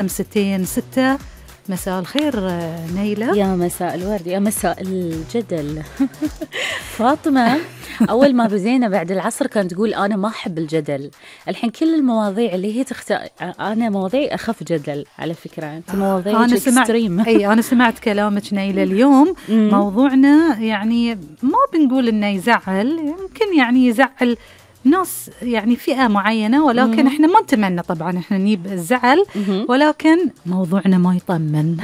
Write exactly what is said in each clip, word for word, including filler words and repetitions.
خمستين ستة. مساء الخير نيلة. يا مساء الورد، يا مساء الجدل. فاطمة أول ما بزينا بعد العصر كانت تقول أنا ما أحب الجدل. الحين كل المواضيع اللي هي تخت... أنا مواضيع أخف جدل على فكرة. أنت مواضيع إكستريم. أي أنا سمعت كلامك نيلة اليوم. موضوعنا يعني ما بنقول إنه يزعل، يمكن يعني يزعل ناس يعني فئة معينة، ولكن احنا ما نتمنى طبعا احنا نجيب الزعل، ولكن موضوعنا ما يطمن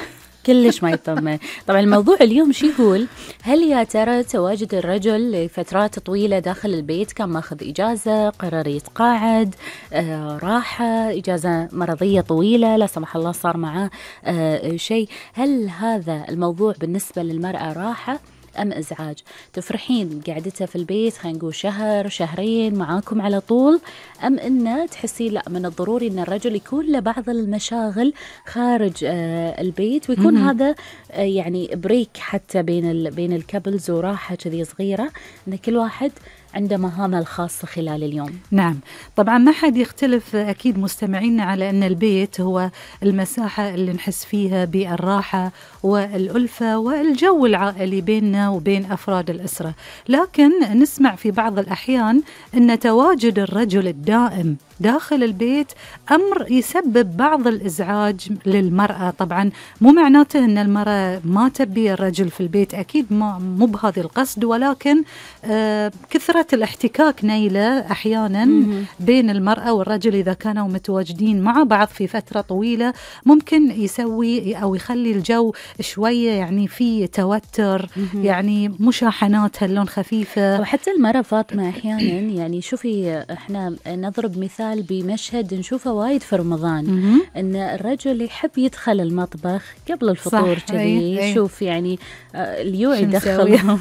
كلش ما يطمن. طبعا الموضوع اليوم شو يقول؟ هل يا ترى تواجد الرجل لفترات طويلة داخل البيت، كان ماخذ إجازة، قرر يتقاعد، آه، راحة، إجازة مرضية طويلة، لا سمح الله صار معاه آه، شيء، هل هذا الموضوع بالنسبة للمرأة راحة أم إزعاج؟ تفرحين قعدتها في البيت خلينا نقول شهر شهرين معاكم على طول، أم إنه تحسين لا من الضروري إن الرجل يكون له بعض المشاغل خارج آه البيت، ويكون م-م. هذا آه يعني بريك حتى بين ال بين الكابلز وراحة كذي صغيرة، إن كل واحد عنده مهامه الخاصة خلال اليوم. نعم طبعا ما حد يختلف أكيد مستمعينا على أن البيت هو المساحة اللي نحس فيها بالراحة والألفة والجو العائلي بيننا وبين أفراد الأسرة، لكن نسمع في بعض الأحيان أن تواجد الرجل الدائم داخل البيت أمر يسبب بعض الإزعاج للمرأة. طبعا مو معناته أن المرأة ما تبي الرجل في البيت، أكيد مو بهذا القصد، ولكن آه كثرة الاحتكاك نيلة أحيانا م-م. بين المرأة والرجل إذا كانوا متواجدين مع بعض في فترة طويلة ممكن يسوي أو يخلي الجو شوية يعني في توتر، م-م. يعني مشاحنات هاللون خفيفة. وحتى المرأة فاطمة أحيانا يعني شوفي إحنا نضرب مثال بمشهد نشوفه وايد في رمضان، م-م. ان الرجل يحب يدخل المطبخ قبل الفطور كذي، يشوف يعني اليوع يدخل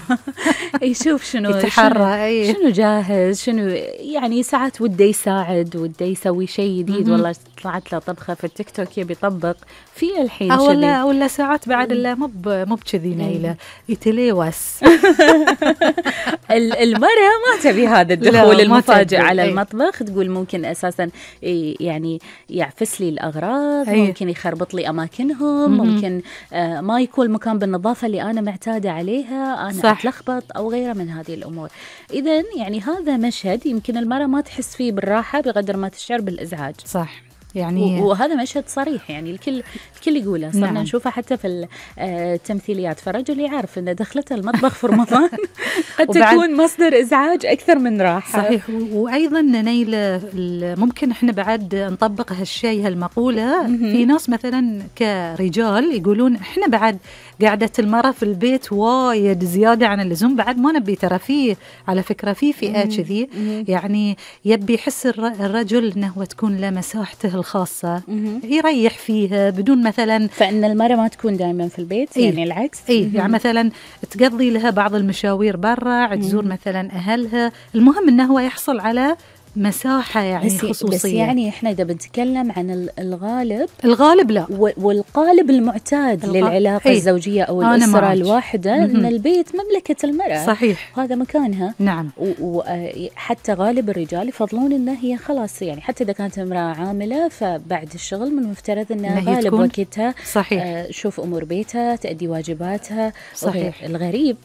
يشوف شنو يتحرى شنو, شنو جاهز، شنو يعني ساعات وده يساعد، وده يسوي شيء جديد، والله طلعت له طبخه في التيك توك يبي يطبق في الحين أو ولا ولا ساعات بعد لا مو مو بكذي نيلة يتلوث. المرأة ما تبي هذا الدخول المفاجئ على أي. المطبخ، تقول ممكن أساسا يعني يعفس لي الأغراض، أي. ممكن يخربط لي أماكنهم، م-م. ممكن آه ما يكون المكان بالنظافة اللي أنا معتادة عليها، أنا صح. أتلخبط أو غيره من هذه الأمور. إذن يعني هذا مشهد يمكن المرأة ما تحس فيه بالراحة بقدر ما تشعر بالإزعاج. صح يعني وهذا مشهد صريح يعني الكل الكل يقوله، صرنا نعم. نشوفه حتى في التمثيليات، فالرجل يعرف ان دخلته المطبخ في رمضان قد تكون مصدر ازعاج اكثر من راحه. صحيح. وايضا نيل ممكن احنا بعد نطبق هالشيء هالمقوله في ناس مثلا كرجال يقولون احنا بعد قعدة المرأة في البيت وايد زيادة عن اللزوم، بعد ما نبي ترى فيه على فكرة في فئة كذي يعني يبي يحس الرجل انه هو تكون له مساحته الخاصة يريح فيها بدون مثلا، فإن المرأة ما تكون دائما في البيت. إيه؟ يعني العكس. إيه؟ يعني مثلا تقضي لها بعض المشاوير برا، تزور مثلا أهلها، المهم أنه هو يحصل على مساحة يعني بس خصوصية. بس يعني إحنا إذا بنتكلم عن الغالب الغالب لا، والقالب المعتاد الغ... للعلاقة أي. الزوجية أو الأسرة الواحدة م-م. أن البيت مملكة المرأة. صحيح. هذا مكانها. نعم. وحتى غالب الرجال يفضلون أن هي خلاص يعني حتى إذا كانت امرأة عاملة فبعد الشغل من المفترض أنها غالب وقتها صحيح. تشوف أمور بيتها، تأدي واجباتها. صحيح. الغريب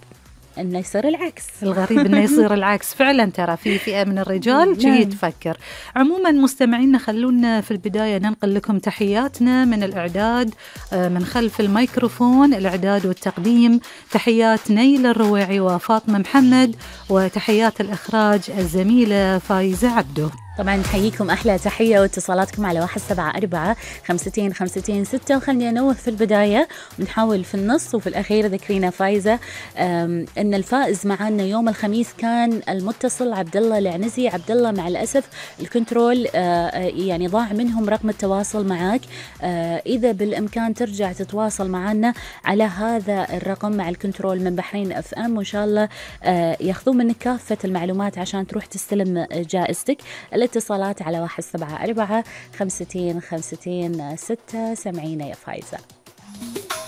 إنه يصير العكس. الغريب إنه يصير العكس فعلا، ترى في فئة من الرجال تجي تفكر. عموما مستمعينا خلونا في البداية ننقل لكم تحياتنا من الإعداد من خلف الميكروفون، الإعداد والتقديم تحيات نيل الرويعي وفاطمة محمد، وتحيات الإخراج الزميلة فايزة عبدو. طبعا نحييكم أحلى تحية واتصالاتكم على واحد سبعة أربعة خمستين خمستين ستة. وخلني أنوه في البداية ونحاول في النص وفي الأخير ذكرينا فايزة أن الفائز معنا يوم الخميس كان المتصل عبد الله العنزي. عبد الله مع الأسف الكنترول يعني ضاع منهم رقم التواصل معك، إذا بالإمكان ترجع تتواصل معنا على هذا الرقم مع الكنترول من بحرين اف ام، وإن شاء الله ياخذون منك كافة المعلومات عشان تروح تستلم جائزتك. الاتصالات على واحد سبعة أربعة خمستين خمستين ستة. سمعينا يا فايزة.